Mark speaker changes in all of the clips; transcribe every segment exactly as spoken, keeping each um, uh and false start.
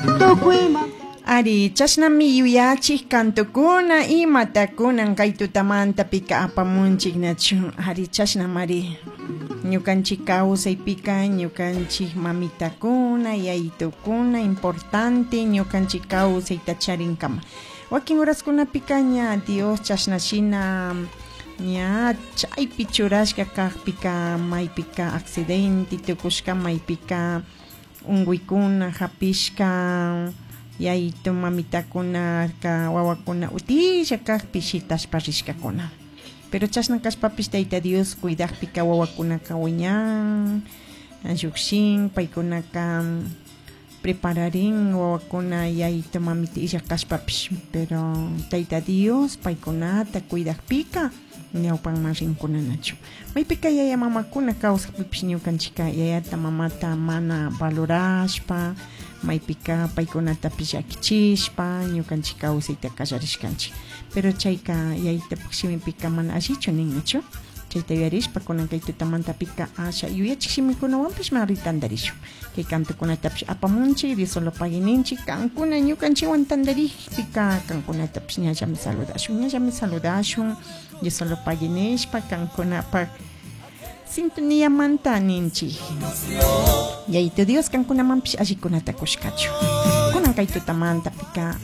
Speaker 1: Tukuymanta
Speaker 2: Ari, chashnami yuyachik kantukuna imatakunan kay tutamanta pika apamunchik nachu. Ari, chashnamari ñukanchik kawsaypika ñukanchik mamitakuna yayitukuna importante ñukanchik kawsayta charinkama. Wakin horaskunapika ña Dios chashna shina ña chaypi churashka kakpika maypika accidente tukushka maypika unkuykuna hapishka yayitu mamitakuna ka wawakuna utilla kakpi shitashpa rishkakuna. Pero chashna kashpapish Tayta Dios cuidakpika wawakunaka wiñan llukshin paykunaka prepararin wawakuna yayitu mamita illak kashpapish pero Tayta Dios paykunata cuidakpika ñawpanman rinkunanachu. Maypika yaya mamakuna kawsakpipish ñukanchika yayata mamata mana valorashpa maypika paykunatapish llakichishpa ñukanchik kawsayta kallarishkanchik. Pero chayka yayitapak shimipika mana allichu ninnachu. Chayta yuyarishpa kunan kay tutamantapika asha yuyachik shimikunawanpish mari tantarishun. Kay kantukunatapish apamunchik Dios solo pague ninchik kankuna ñukanchikwan tantarikpika kankunatapish ñallami saludashun ñallami saludashun Dios solo pague nishpa kankunapak sintoniamanta ninchik. Yayito Dios kankunamanpish allikunata kushkachu. Kunan kay tutamantapika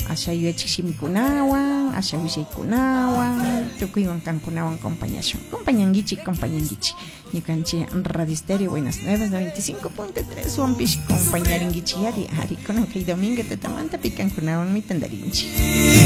Speaker 2: asha yuyachik shimikunawan asha willaykunawan tukuywan kankunawan compañashun compañankichik compañankichik ñukanchik Radio Estéreo Buenas Nuevas noventa y cinco punto tres wanpish compañarinkichik ari ari kunan kay domingo tutamantapi kankunawanmi tantarinchik.